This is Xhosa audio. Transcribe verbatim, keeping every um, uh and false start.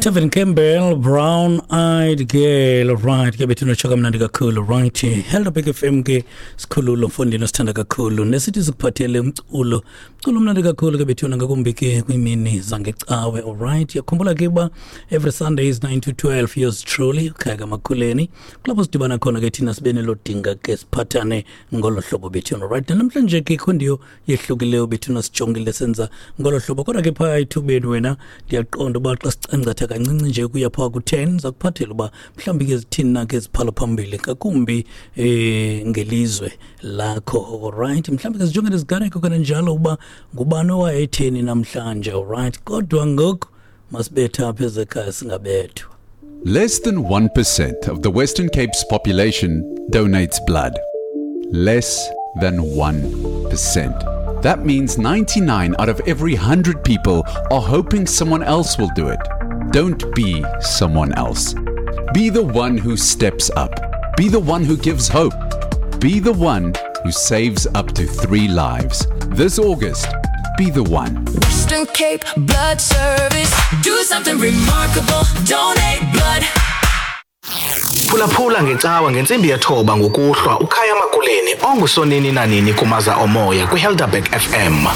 Tevin Campbell, Brown Eyed Girl. Right, ke bethuna tsho kamnandi kakhulu. Right, Helderberg F M ke sikhululo, mfondini osithanda kakhulu, nesithi sikuphathele umculo, umculo omnandi kakhulu ke bethuna, ngakumbi ke kwiimini zangecawe. Alright, yakhumbula ke uba every Sunday is nine to twelve, yours truly ukhaya kaMakhuleni, kulapho sidibana khona ke thina sibe nelo dinga ke siphathane ngolo hlobo bethuna. Right, namhlanje ke khondiyo yehlukileyo bethuna, sijongile senza ngolo hlobo, kodwa ke phaa ethubeni wena ndiyaqonda uba xa sicangcatha kancinci nje kuya phaa ku-ten, zakuphathela uba mhlawumbi ke zithini na ke ziphala phambili ngakumbi eh ngelizwe lakho. Alright, mhlawumbi ke sijonge neziganeko kananjalo uba ngubani owayetheni namhlanje. Alright, kodwa ngoku masibethe apha ezekhaya singabethwa. Less than one percent of the Western Cape's population donates blood. Less than one percent. That means ninety-nine out of every one hundred people are hoping someone else will do it. Don't be someone else. Be the one who steps up. Be the one who gives hope. Be the one who saves up to three lives. This August, be the one. Western Cape Blood Service. Do something remarkable. Donate blood. Phulaphula ngecawa ngentsimbi yethoba ngokuhlwa uKhaya Makuleni ongusonini nanini kumaza omoya kwiHelderberg F M.